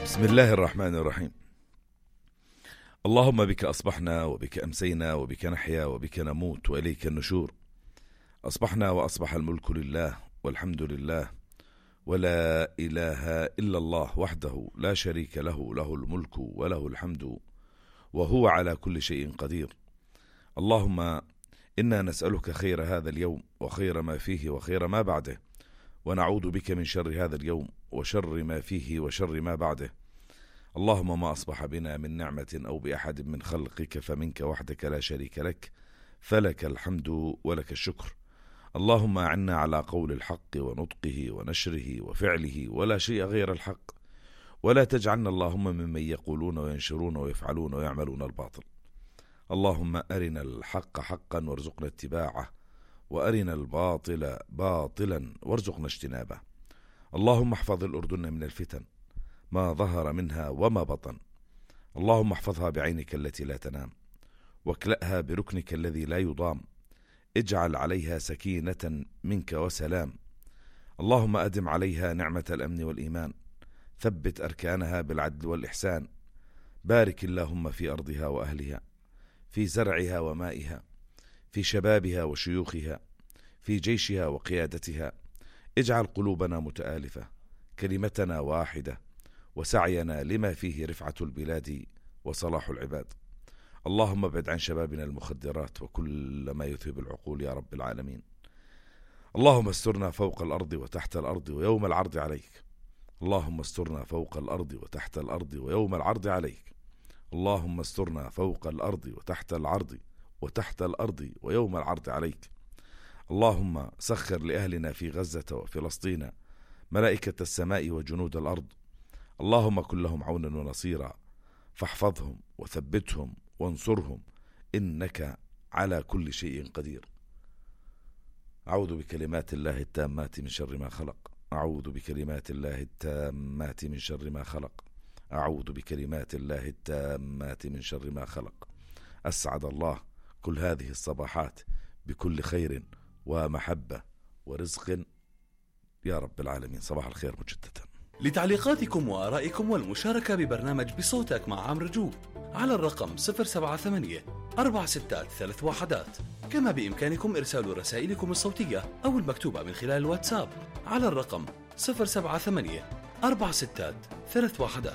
بسم الله الرحمن الرحيم. اللهم بك أصبحنا وبك أمسينا وبك نحيا وبك نموت وإليك النشور. أصبحنا وأصبح الملك لله والحمد لله ولا إله إلا الله وحده لا شريك له، له الملك وله الحمد وهو على كل شيء قدير. اللهم إنا نسألك خير هذا اليوم وخير ما فيه وخير ما بعده، ونعوذ بك من شر هذا اليوم وشر ما فيه وشر ما بعده. اللهم ما أصبح بنا من نعمة أو بأحد من خلقك فمنك وحدك لا شريك لك، فلك الحمد ولك الشكر. اللهم أعنا على قول الحق ونطقه ونشره وفعله ولا شيء غير الحق، ولا تجعلنا اللهم ممن يقولون وينشرون ويفعلون ويعملون الباطل. اللهم أرنا الحق حقا وارزقنا اتباعه، وأرنا الباطل باطلا وارزقنا اجتنابه. اللهم احفظ الأردن من الفتن ما ظهر منها وما بطن. اللهم احفظها بعينك التي لا تنام، واكلأها بركنك الذي لا يضام. اجعل عليها سكينة منك وسلام. اللهم أدم عليها نعمة الأمن والإيمان، ثبت أركانها بالعدل والإحسان. بارك اللهم في أرضها وأهلها، في زرعها ومائها، في شبابها وشيوخها، في جيشها وقيادتها. اجعل قلوبنا متآلفة، كلمتنا واحدة، وسعينا لما فيه رفعة البلاد وصلاح العباد. اللهم ابعد عن شبابنا المخدرات وكل ما يذهب العقول يا رب العالمين. اللهم استرنا فوق الأرض وتحت الأرض ويوم العرض عليك. اللهم استرنا فوق الأرض وتحت الأرض ويوم العرض عليك. اللهم استرنا فوق الأرض وتحت الأرض ويوم العرض عليك. اللهم سخر لأهلنا في غزة وفلسطين ملائكة السماء وجنود الأرض. اللهم كن لهم عونا ونصيرا، فاحفظهم وثبتهم وانصرهم، إنك على كل شيء قدير. أعوذ بكلمات الله التامات من شر ما خلق. أعوذ بكلمات الله التامات من شر ما خلق. أعوذ بكلمات الله التامات من شر ما خلق. أسعد الله كل هذه الصباحات بكل خير ومحبة ورزق يا رب العالمين. صباح الخير مجددا. لتعليقاتكم وآرائكم والمشاركة ببرنامج بصوتك مع عمرو جو على الرقم 078-463-1. كما بإمكانكم إرسال رسائلكم الصوتية أو المكتوبة من خلال الواتساب على الرقم 078-463-1.